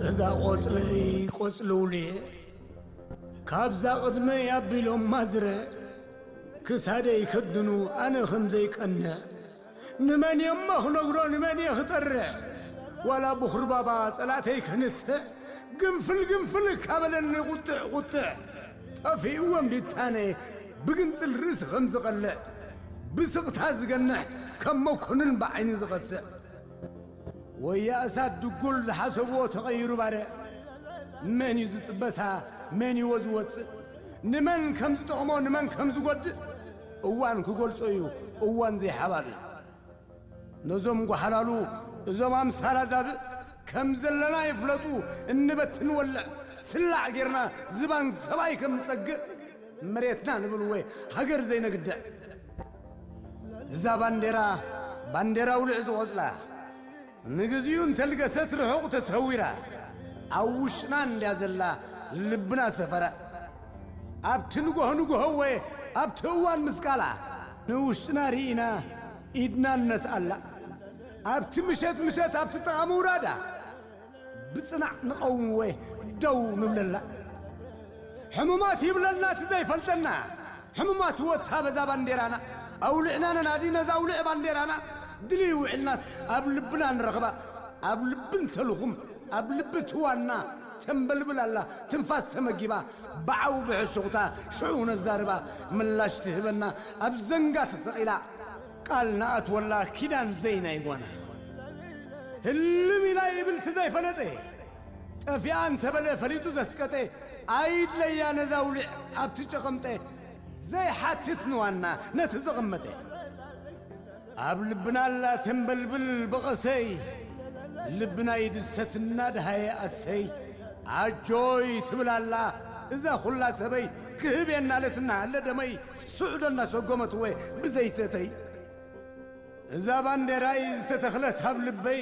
እዛ ቆጽለይ ቆጽሊ ውልየ ካብዛ ቅድመይ ኣቢሎም ማዝረ ክሳደይ ከድኑ ኣነ ከም ዘይቀንዕ ንመን እየ እሞ ክነግሮ ንመን እየ ክጠርዕ ዋላ ብኹርባባ ጸላተይ ከንትዕ ግንፍል ግንፍል ካበለኒ ቁጥዕ ቁጥዕ ጠፊእዎም ዲታነ ብግንጽል ርእሲ ከም ዝቐልዕ ብስቕታ ዝገንሕ ከም መኮንን ብዓይኒ ዝቐጽዕ ወያ እሳት ድጉል ዝሓሰብዎ ተቐይሩ ባርዕ መን እዩ ዝጽበሳ መን ይዎ ዝወጽእ ንመን ከም ዝጠቕሞ ንመን ከም ዝጎድእ እዋን ክገልጾ እዩ እዋን ዘይሓባብእ ነዞም ጓሓላሉ እዞም ኣምሳላ ዛብእ ከም ዘለና ይፍለጡ እንበትን ወልዕ ስላዕ ጌርና ዝባን ሰብኣይ ከም ንጸግእ መሬትና ንብልወ ሃገር ዘይነግድዕ እዛ ባንዴራ ባንዴራ ውልዕ ዝቖጽላ ንግዚኡ እንተልገሰት ርሑቕ ተሰዊራ ኣብ ውሽጥና እንድያ ዘላ ልብና ሰፈራ ኣብቲ ንጎሆ ንጎሆ ወ ኣብቲ እዋን ምስቃላ ንውሽጥና ርኢና ኢድና ንነስኣላ ኣብቲ ምሸት ምሸት ኣብቲ ጥቓ ምውራዳ ብጽናዕ ንቐውምወ ደው ንብለላ ሕሙማት ይብለና እቲ ዘይፈልጠና ሕሙማት ወታ በዛ ባንዴራና ኣውልዕና ነናዲ ነዛ ኣውልዕ ባንዴራና ድልይ ውዕልናስ ኣብ ልብና ንረኽባ ኣብ ልቢ እንተልኹም ኣብ ልቢ ትዋና ተንበልብል ኣላ ትንፋስ ተመጊባ ብዓው ብሕሹኽታ ሽዑ ነዛርባ ምላሽ ትህበና ኣብ ዘንጋ ተሰቒላ ቃል ንኣትወላ ኪዳን ዘይናይ ጓና ህልም ኢላ ይብል እቲ ዘይፈለጠ ጠፊኣ እንተበለ ፈሊጡ ዘስቀጠ ኣይድለያ ነዛ ውልዕ ኣብቲ ጨቐምጠ ዘይሓትት ንዋና ነቲ ዘቐመጠ ኣብ ልብና ኣላ ተንበልብል በቐሰይ ልብና ይድሰት እናድሃየ ኣሰይ ኣጆይ ትብል ኣላ እዛ ኹላ ሰበይ ክህብ የናለትና ኣለደመይ ስዑዶ እናሰጎመትወ ብዘይተተይ እዛ ባንዴራይ ዝተተኽለት ኣብ ልበይ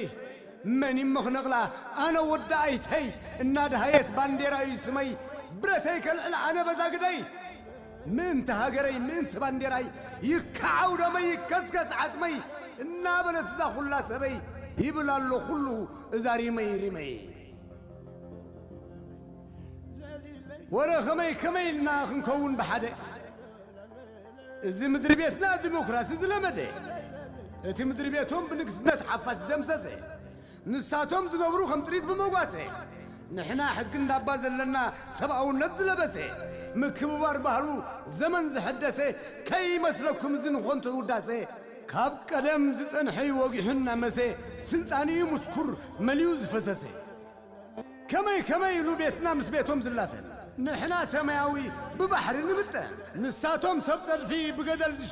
መን ይሞ ክነቕላ ኣነ ወዲ ኣይተይ እናድሃየት ባንዴራ እዩ ስመይ ብረተይ ከልዕል ኣነ በዛ ግደይ ምእንቲ ሃገረይ ምእንቲ ባንዴራይ ይከዓው ደመይ ይከስከስ ዓጽመይ እናበለት እዛ ኹላ ሰበይ ይብል ኣሎ ኩሉ እዛ ሪመይ ሪመይ ወረ ኸመይ ከመይ ኢልና ክንከውን ብሓደ እዚ ምድሪ ቤትና ዲሞክራሲ ዝለመደ እቲ ምድሪ ቤቶም ብንግስነት ሓፋሽ ደምሰሰ ንሳቶም ዝነብሩ ከም ጥሪት ብመጓሰ ንሕና ሕጊ እንዳባ ዘለና ሰብኣውነት ዝለበሰ ምክብባር ባህሉ ዘመን ዝሐደሰ ከይመስለኩም እዚ ንኾንቶ ውዳሰ ካብ ቀደም ዝጸንሐ እዩ ወጊሑ እናመሰ ስልጣን እዩ ምስኩር መሊኡ ዝፈሰሰ ከመይ ከመይ ኢሉ ቤትና ምስ ቤቶም ዝላፈን ንሕና ሰማያዊ ብባሕሪ ንምጠን ንሳቶም ሰብ ጸድፊ ብገደል